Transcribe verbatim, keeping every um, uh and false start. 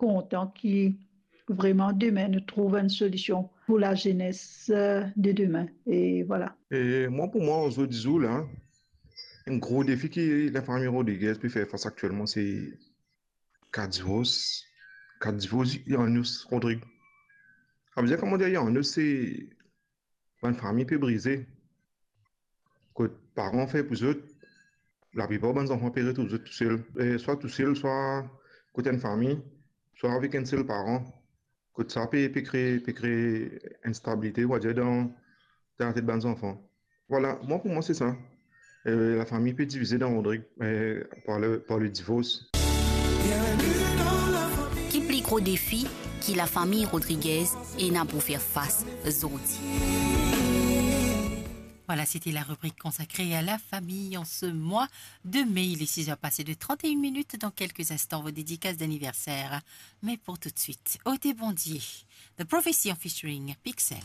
kontan ki vreman demin nou trouv enn solision pou lazenes, eh, de demin. E vwala. E mwa, pou mwa, zordi zour la, enn gro defi ki lafami Rodriguez pe fer fas aktielman, se ka divors. Ka divors, Yanis Rodriguez. Savedir, kouma dir, Yanis, se bann fami pe brize. Kot paran fer pou zot, laplipar bann zanfan pe retrouv zot tousel, eh, swa tousel, swa kot enn fami, swa avek enn sel paran. Kot sa pe, pe kre, pe kre enn instabilite, on va dir, dan, dan latet bann zanfan. Vwala, mwa, pou mwa, se sa. Eh, lafami pe divize dan Rodriguez, eh, par le, par le divors. Ki pli gro defi ki lafami Rodriguez ena pou fer fas zordi? Voilà, c'était la rubrique consacrée à la famille en ce mois de mai. Il est six heures passées de trente et une minutes. Dans quelques instants, vos dédicaces d'anniversaire. Mais pour tout de suite, Ôtez Bondié, The Prophecy en featuring Pixel.